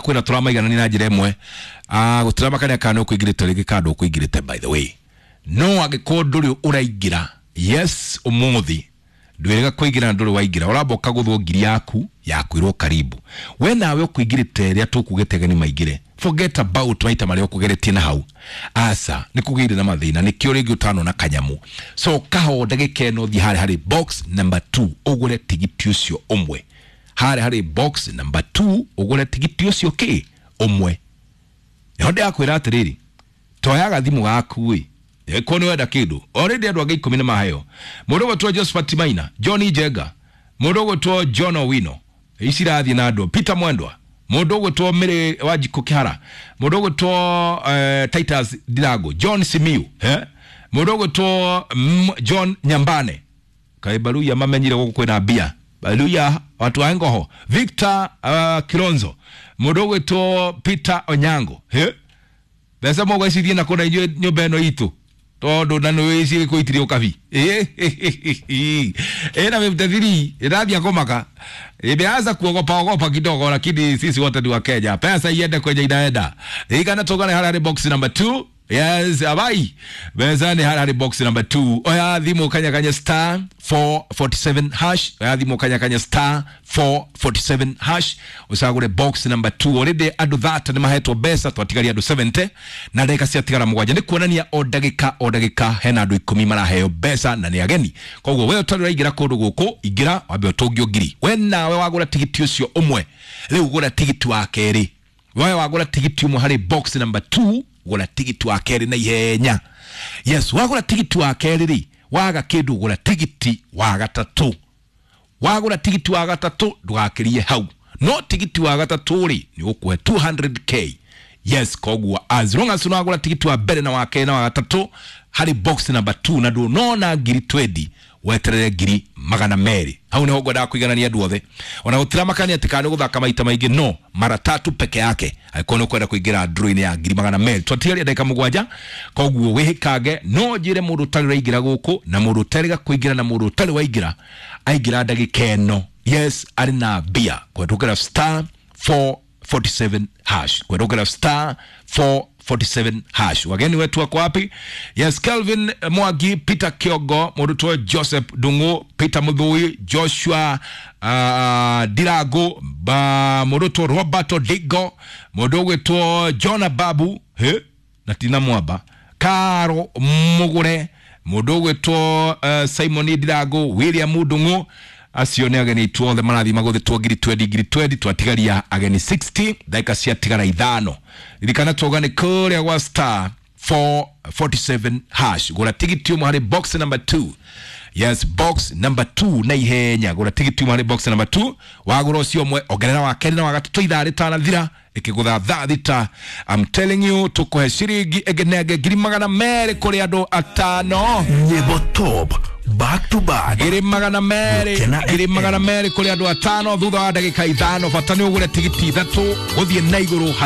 Tũrakwĩra tũramaiganania na njĩra ĩmwe. Gũtiramakania kana nĩ ũkũingĩrĩte rĩngĩ kana ndũkũingĩrĩte, by the way, no angĩkorwo ndũrĩ ũraingĩra, yes, ũmũthĩ ndwĩrĩga kũingĩra na ndũrĩ waingĩra, ũramba ũkagũthwo ngiri yaku ya kwĩrwo karibu. We nawe ũkũingĩrĩte rĩrĩa tũkugĩte ageni maingĩre, forget about maita marĩa ũkũgeretie na hau, aca nĩ kũgĩire na mathĩna, nĩkĩo rĩngĩ ũtanona kanyamu. So kaho ndagĩka ĩno thiĩ harĩa harĩ box number 2 ũgũre tigiti ũcio ũmwe, harĩa harĩ box number 2 ũgũre tigiti ũcio kĩ ũmwe. Nĩho ndĩrakwĩra atĩrĩrĩ, toya gathimũ gaku ĩ ko nĩ wenda kĩndũ. Already andũ angĩ 10 nĩ maheo. Mũndũ ũgwĩtwo Josephat Maina, John Njenga, mũndũ ũgwĩtwo John Owino, ici irathiĩ na andũ, Peter Mwendwa, mũndũ ũgwĩtwo Mary Wanjikũ Kĩhara, mũndũ ũgwĩtwo Titus Ndirango, John Simiu, mũndũ ũgwĩtwo John Nyambane, kaĩ Baruya mamenyire gũkũ kwĩna mbia, Baruya watu wa Ngoho, Victor Kilonzo, mũndũ ũgwĩtwo Peter Onyango, mbeca mũgwecirie na kũna inyuĩ nyũmba ĩno itũ tondu na nĩ wĩciĩ gĩkũitirie ũkabi ĩna 53 ĩrathiĩ kũmaka, imeanza kuogopa ogopa kidogo, lakini sisi wote ni wa Kenya, pesa iende kwenye inaenda. Igana tugane harĩa harĩ box number 2. Yes, abai mbeca nĩ harĩa harĩ box number 2. Oya thimũ kanyakanya star 447 hash, oya thimũ kanyakanya star 447 hash ũcagũre box number 2. Already andũ 30 nĩ mahetwo mbeca, twatigaria andũ 70 na ndagĩka ciatigara 7. Nĩ kuonania o ndagĩka o ndagĩka hena andũ 10 maraheo mbeca na nĩ ageni. Koguo we ũtarĩ ũraingĩra kũndũ gũkũ, ingĩra wambe ũtũngio ngiri. We nawe wagũra tigiti ũcio ũmwe, rĩu gũra tigiti wa kerĩ. We wagũra tigiti ũmwe harĩ box number 2, gũra tigiti wa kerĩ na ihenya. Yes, wagũra tigiti wa kerĩ rĩ, waga kĩndũ gũra tigiti wa gatatũ. Wagũra tigiti wa gatatũ ndũgakĩrie hau, no tigiti wa gatatũ rĩ nĩ ũkũhe 200k. Yes, koguo as long as unagũra tigiti wa mbere na wa kerĩ na wa gatatũ harĩ box number 2 na ndũnona ngiri 20, weterere ngiri 200. Hau niho ngwendaga kũiganania andũ othe, ona gũtiramakania atĩ kana nĩ gũthaka maita maingĩ, no mara tatu peke yake angĩkorwo nĩ ũkwenda kũingĩra draw-inĩ ya ngiri 200. Twatigaria ndagĩka 7, koguo wĩhĩkange. No njĩre mũndũ ũtarĩ ũraingĩra gũkũ na mũndũ ũtarĩga kũingĩra na mũndũ ũtarĩ waingĩra aingĩra ndagĩka ĩno, yes, arĩ na mbia kũhetũkĩra star 447 hash, kũhetũkĩra star 447 hash. Wageni wetu wako wapi? Yes, Kelvin Mwangi, Peter Kiogo, mũrutwo Joseph Dungu, Peter Muthui, Joshua Dirago, mũrutwo Robert Digo, mũndũ ũgwĩtwo John Babu, he na Tina Mwamba, Karo Mugure, mũndũ ũgwĩtwo Simon Dirago, William Ndung'u. Acio nĩ ageni itũ othe marathiĩ magũthĩtwo ngiri 20 ngiri 20. Twatigaria ageni 60, ndagĩka ciatigara 5. Ririkana tuoga nĩ kũrĩa gwa star 447 hash, gũra tigiti ũmwe harĩ box number 2. Yes, box number 2 na ihenya, gũra tigiti ũmwe harĩ box number 2. Wagũra ũcio ũmwe, ongerera wa kerĩ na wa gatatũ, ithaa rĩtanathira ĩkĩgũtha thaa 6. I'm telling you, tũkũhe ciringi ĩngĩ na ĩngĩ ngiri 200 kũrĩ andũ 5. Nyĩmbo top back to back, ngiri 200, ngiri 200 kũrĩ andũ 5 thutha wa ndagĩka 5. Bata nĩ ũgũre tigiti 3 gũthiĩ na igũrũ.